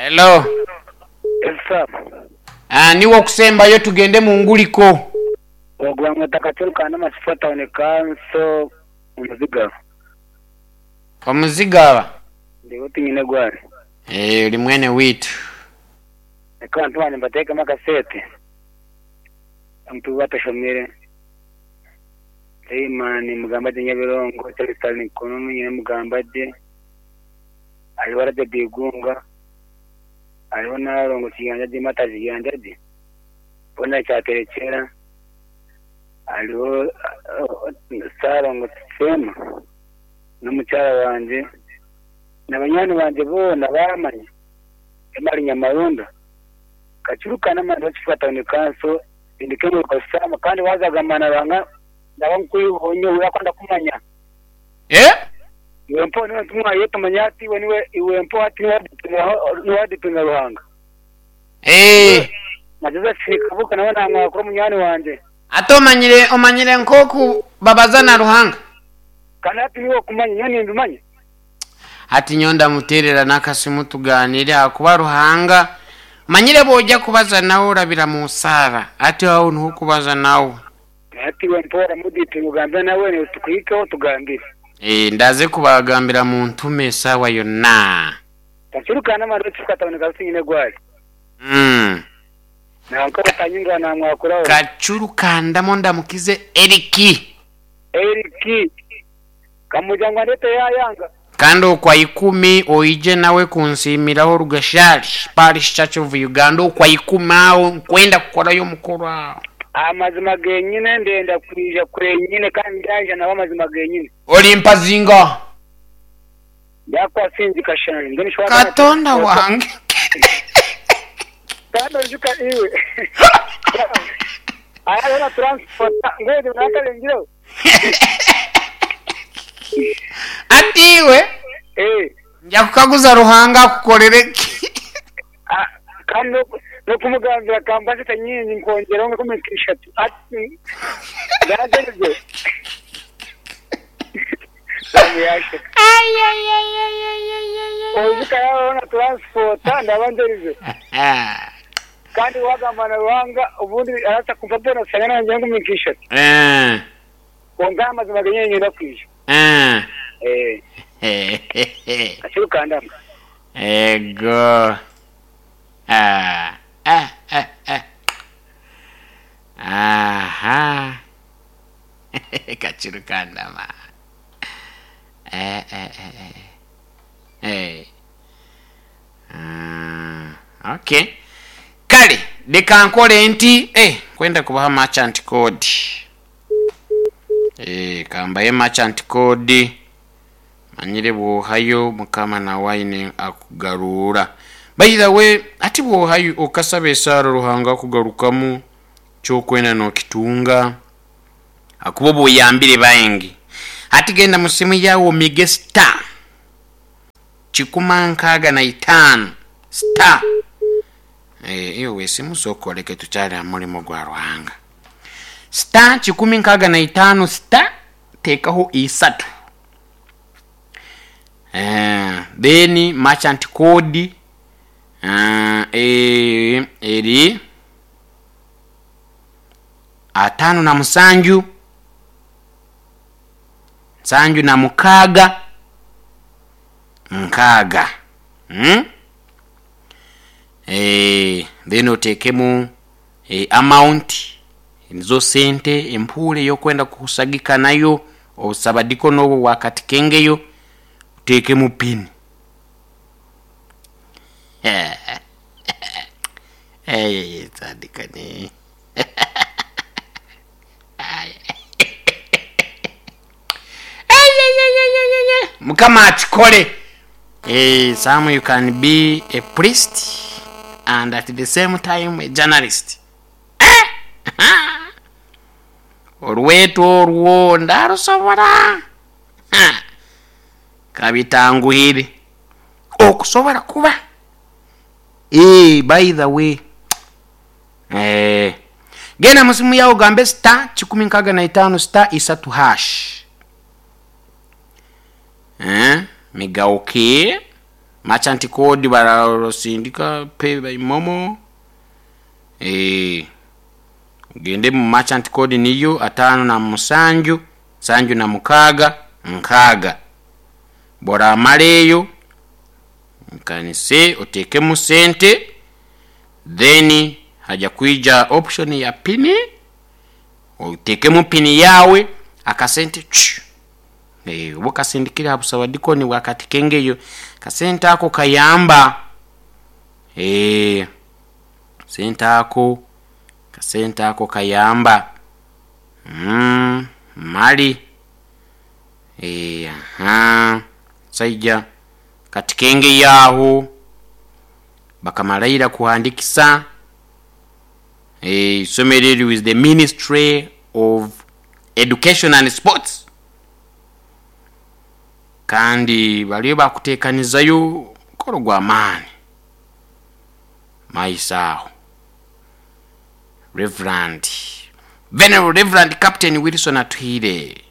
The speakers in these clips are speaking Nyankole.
Hello. Elsa. Ah, niwe okusembayo tugende mu nguliko. Ogwo bamweta Kachuru ka Namasifa Town Council Omuzigaba. Omuzigaba? Ndiho tinyine gwari. Eh, ori mwene waitu. Reka abantu bangye mbateekemu akasente. Abantu batashomire. Leyimani mugamba gye Nyabirongo, Charles Nkonono nyine mugamba gye. Hariho Rajab Igunga, hariho Nalongo Kiyanja gye Mata Kiyanja gye. Bona Kyaterekyera, hariho Ssalongo Seema n'omukyara wangye na banywani bangye boona baamanya Emali Nyamarunda, Kakiruka n'amani Bakifuka Town Council, Sindika Emurika Sam kandi waaza kugamba na Ruhanga ndaba nkwihaho nyowe ahakuba ndakumanya. Eh? Iwe mpaho niwe ntumwa ye tumanya ati iwe niwe iwe mpaho ati niwe wadipinga Ruhanga. Eh. Na Josephine Kabuga nawe namwakura munywani wangye. Ate omanyire omanyire nkoku babaza na Ruhanga. Kandi hati niiwe okumanya, nyowe nimbimanya. Hati nyowe ndamuteerera n'akasimu tugaaniire ahakuba Ruhanga manyire bw'oja kubaza nawe orabira mu saara hati aho niho okubaza nawe. Hati iwe mpoora mudipinga ogambe nawe naiwe tukuhikeho tugambire. Eeh ndaze kubagambira muntume esaawa yonna. Kakiruka n'amani okifuka taboneka ruti nyine gwari. Mm. Nanka otanyingira namwakuraho. Kacuru kandamo ndamukize Eriki. Eriki. Kamugira ngu andete yayanga. Kandi okwa ikumi oije nawe kunsiimiraho Rugashari Parish Church of Uganda okwa ikumi aho nkwenda kukorayo omukoro aho. Amazima genyine ndenda kwija kwenyine kandi ndyaija nawe amazima genyine. Olimpa zingaha? Ndyakuha kashanje mbwenu shi waaba Katonda wange. Kandi oijuka iwe hariho na transport mbwenu nakarengireho. Ati iwe Eh. nja kukaguza Ruhanga akukorere ki? Ah, kandi n'oku- n'okumugambira kamba sente nyingi nkongyeraho nka kumi nk'ishatu ati ndagereze yasheka oijuka yabaho na taransipota ndaba nzerize kandi wagamba na Ruhanga obundi arasa kumpa bonus sanga nangye nkumi nk'ishatu Eh, kwonka amazima genyine nyenda kwija eh. eh akirukandama Ego. Ah, ah, ah, ah. Aha. Kachirukandama. Eh, eh, eh, eh. Eh. Ah, okay. Kale, leka nkole nti eh, kwenda kubaha merchant code. Eh, kambaye merchant code. Manyire bwohayo mukama nawe aine akugaruura. By the way, ati bwohayo okasaba esaara Ruhanga akugarukamu kyokwenda nokitunga akuba obuyambire baingi. Hati genda mu simu yawe omige star 165 star eh, iyo wesimu sokoleke tukyali aha murimo gwa Ruhanga. Star 165 star tekaho isatu. Eh, then merchant code eh, eri 57 76 6 hmm? Eh, then otekemu eh, amount nizo sente empuure eyokwenda kusagika nayo obusabadiko n'obwo bwakatikengeyo otekemu pin. Eh, tandika ni Mukama akikole. Eh, some you can be a priest and at the same time a journalist. Eh! Orweto orwo ndarusobora. Ha! Kabitanguhire. Okusobora kuba. Eh, by the way. Eh. Genda musimu yawe ogambe star 165 star 3 hash. Eh, migauke. Merchant code barasindika pay by momo. Eh, ogende mu merchant code niyo 57 76 6. Bworamara eyo nkanise otekemu sente, then haja kwija option ya pini, otekemu pini yawe, akasente chu. Eh, oba okasindikire aha busabadikoni bwa Katikengeyo, akasente ako kayamba. Eh, sente ako, kasente ako kayamba. Mali. Eh, aha. Saija Katikengeyo aho bakamaraira kuhandikisa isomero eri with the Ministry of Education and Sports, kandi bariyo bakutekanizayo omukoro gw'amaani maiso aho. Reverend Venerable Reverend Captain Wilson Atuhaire,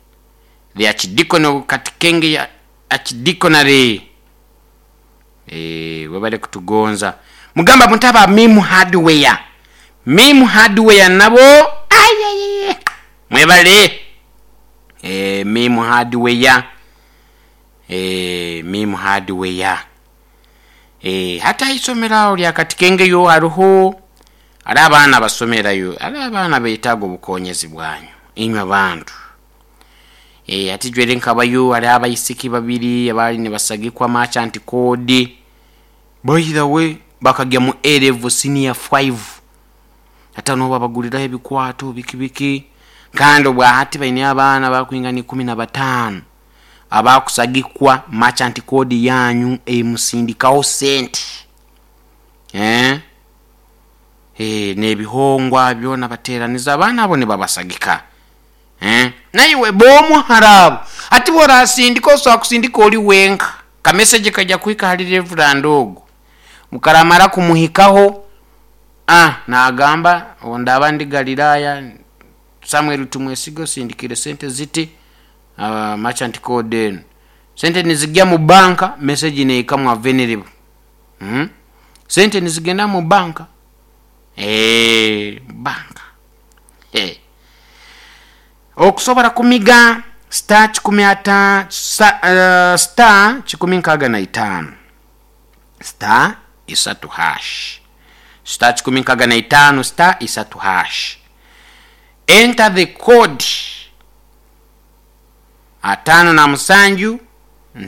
the Archdeacon of Katikenge Archdeaconry, eh, webale kutugonza. Mugamba mutaba Mim Hardware, Mim Hardware nabo ayayaya mwebale. Eh, Mim Hardware, eh, Mim Hardware, eh, hata isomero aho lya Katikengeyo hariho ari abaana basomerayo, ari abaana betaaga obukonyezi bwanyu inywe abantu. Eh, ati jwere nkabayo ari abaisiki babiri abali nibasagikwa merchant code. By the way, bakagya mu A level senior 5, ata nobu babaguriraho ebikwato biki biki, kandi obwahati baine abaana bakwingana 15 abakusagikwa merchant code yanyu emusindikaho sente. Eh? Eh, n'ebihongwa byona bateraniza abaana abo nibabasagika. Eh? Naiwe bomu harabu ati borasindika osobola kusindika ori wenka, kamessage kajya kuhika hari Reverend ogu, mukaramara kumuhikaho, ah, nagamba ndaba ndi Galilaya Samuel Tumwesigo sindikire sente ziti, merchant code enu sente nizigya mu banka, message neyikamwa venerable. Sente nizigenda mu banka, eh, banka, eh. Okusobola kumiga star kikumi ata, star 165 star 3 hash, star 165 star 3 hash, enter the code 57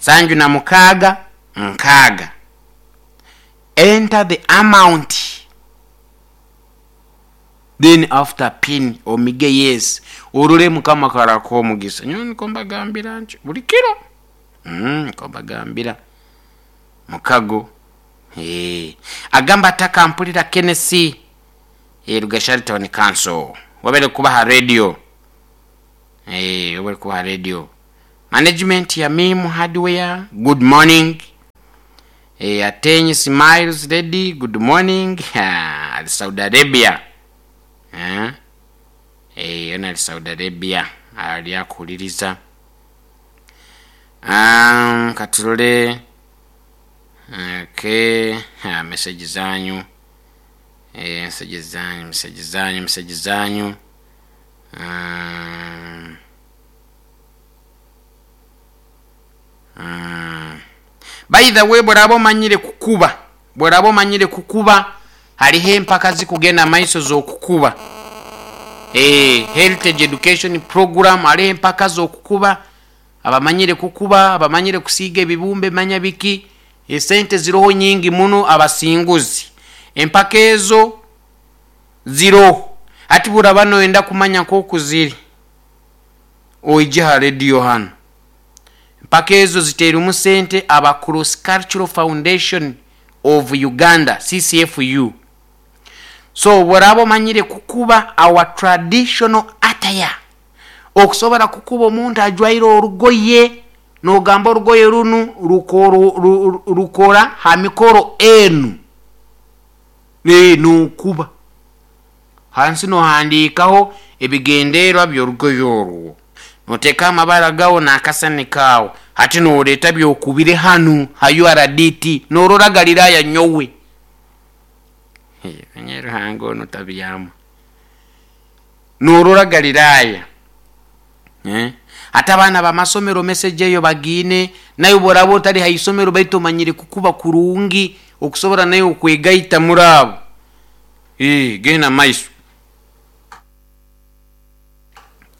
76 6, enter the amount, then after pin omige yes, orure mukama karako omugisa. Nyowe niko mbagambira nti buli kiro, niko mbagambira mukago. Eh, agamba atakampulira Kennedy, eh, Rugashari Town Council wabere kubaha radio, eh, wabere kubaha radio management ya Mim Hardware, good morning. Eh, Atenyi Smiles Lady, good morning. Ha, Saudi Arabia. Eh, eh, ona Saudi Arabia ali akuliriza. Katulole. Okay, ha, message zanyu. Eh, message zanyu, message zanyu, message zanyu. By the way, bworaba omanyire kukuba, bworaba omanyire kukuba, hariho empaka zikugenda maiso z'okukuba. Eh, Heritage Education Program, hariho empaka z'okukuba, abamanyire kukuba, abamanyire kusiiga ebibumbe manya biki, esente ziroho nyingi muno abasinguzi. Empaka ezo ziroho. Ati buraba noyenda kumanya nk'oku ziri, oije ha radio hano. Empaka ezo ziteerimu sente aba Cross Cultural Foundation of Uganda, CCFU. So bworaba omanyire kukuba our traditional attire, okusobola kukuba omuntu ajwaire orugoye, nogamba orugoye runu rukora ha mikoro enu, nokuba hansi nohandiikaho ebigendererwa by'orugoye orwo, noteeka amabara gawo n'akasani kaawo. Hati nooreeta by'okubire hanu ha URDT noorora Galiraaya nyowe. Manya Ruhanga onu tabyama. Noorora Galiraaya. Eh? Hati abaana b'amasomero message eyo bagiine, naiwe obu oraabe otari ha isomero baitu omanyire kukuba kurungi okusobora naiwe okwegaita muri abo. Eeh, genda maiso.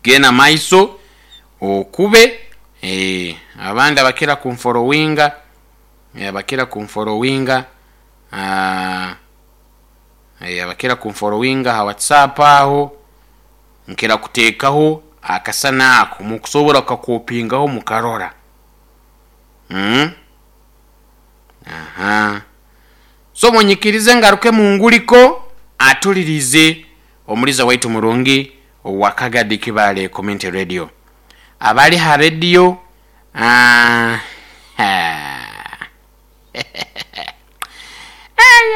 Genda maiso okube. Eeh, abandi abakira kunforowinga, abakira kunforowinga, aah, abakira kunforowinga aha WhatsApp aho, nkira kuteekaho akasana ako mukusobora kukakopingaho mukarora. Mm. Aha. So munyikirize ngaruke munguriko atulirize omuliza waitu murungi owa Kagadi Kibaale Community Radio. Abali ha radio ah,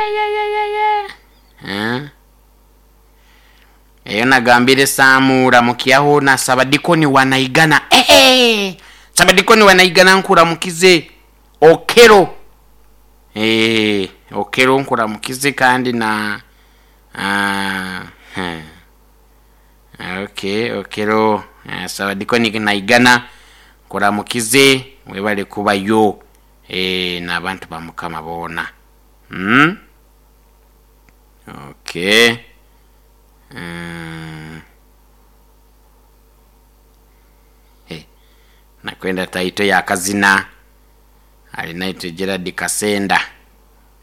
Ayayayayaya. Eyo nagambire Sam ramukyaho na Sabadikoni wa Naigana. Eeh! Sabadikoni wa Naigana nkuramukize. Okello. Eeh, Okello nkuramukize kandi na ah, hmm. Okay, Okello, eh, Sabadikoni Naigana nkuramukize webale kubayo eh, n'abantu ba Mukama boona. Mm? Okay. Mm. Hey, nakwenda taito ya kazina Alinaitwe Gerald Kasenda.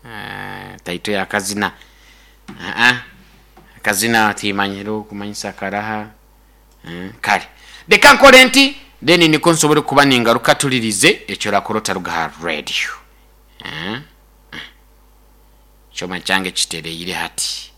Ah, taito ya kazina. Ah, ah. Akazina timanyire okumanyisa karaha. Mm, kale leka nkore nti then niko nsobole kuba ningaruka tulirize ekyo orakora otaruga ha radio. Ah, ah. Ekyoma kyange kitereire hati.